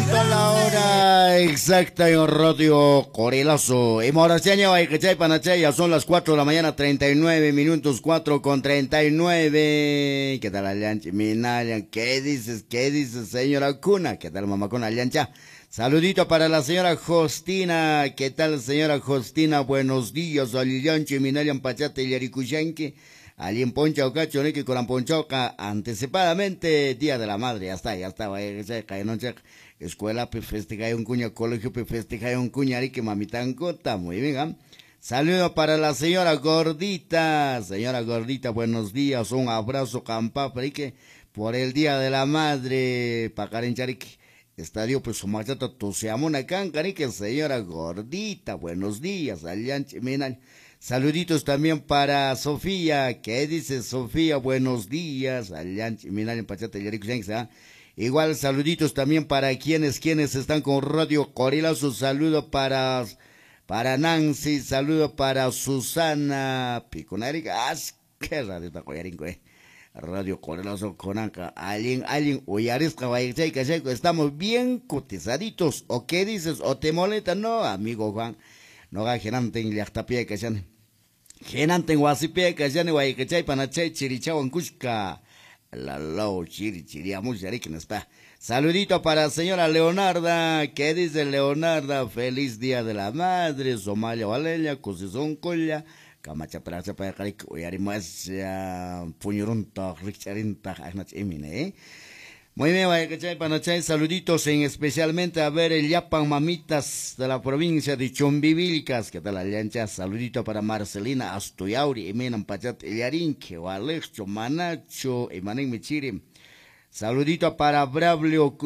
¿Cuánto la hora exacta en Radio Corilazo? Y ya son las 4 de la mañana, 39 minutos, 4:39. ¿Qué tal, Allanchi? Minayan, ¿qué dices? ¿Qué dices, señora Cuna? ¿Qué tal, mamá Cuna Allancha? Saludito para la señora Justina. ¿Qué tal, señora Justina? Buenos días, Allanchi, Minayan, Pachate, Yarikuyanki. Alguien poncha o cacho, ni que con ponchoca anticipadamente, Día de la Madre, ya está, escuela pe festeja un cuña, colegio pe festeja un cuña, que mamitan cota, muy bien, ¿eh? Saludo para la señora Gordita, buenos días, un abrazo, campa, que por el Día de la Madre, pakarenchariki, estadio pues sumachata tusiamuna cancarique, señora Gordita, buenos días, allanchi minal. Saluditos también para Sofía. ¿Qué dice Sofía? Buenos días. Igual saluditos también para quienes están con Radio Corilazo. Saludo para Nancy. Saludo para Susana Piconarica. ¡Qué radio está coyarinco, eh! Radio Corilazo Conanca. Alguien, uyarisca, estamos bien cotizaditos. ¿O qué dices? ¿O te molesta? No, amigo Juan. No ga genanten llaqtapia kashani. Genanten wasipia kashani waykachay panachay chirichawan kushka. La chiri chiriamush está. Saludito para señora Leonarda. ¿Qué dice Leonarda? Feliz Día de la Madre. Somalia Valelia, Cosizón Colla. Camacha pracha pa karik uyarimas puñurunta richarinta ahnach imine, ¿eh? Muy bien, panachay, saluditos en especialmente a ver el Yapan mamitas de la provincia de Chumbivilcas. ¿Qué tal, Allancha? Saludito para Marcelina Astuyauri, Emenan Pachat Eliarinque, Alexcho, Manacho, Emanen Michiri. Saludito para Braulio,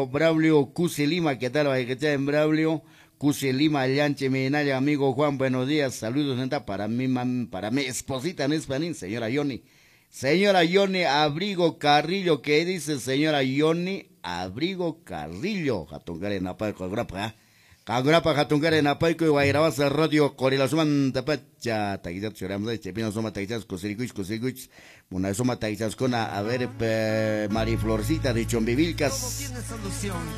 Braulio Cuse Lima. ¿Qué tal, en Braulio Cuse Lima, Allanche, Menaya, amigo Juan, buenos días. Saludos, neta, para mi para mi esposita en español, señora Yoni. Señora Yoni Abrigo Carrillo, ¿qué dice señora Yoni Abrigo Carrillo? Jatungare napayco, grapa, Cagrapa, Jatungare napayco, y Guairabasa Radio Corilazuman tapacha, taguichas, choramos, chepina soma taguichas, cosiricuich, cosiricuich, una soma taguichascona, a ver, Mariflorcita de Chumbivilcas.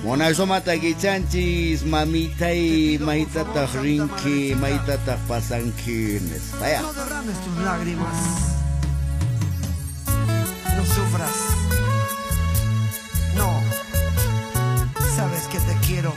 Mona soma taguichanchis, mamita y maitata rinki, maitata pasanquines. Vaya. No derrames tus lágrimas. No sufras. No. Sabes que te quiero.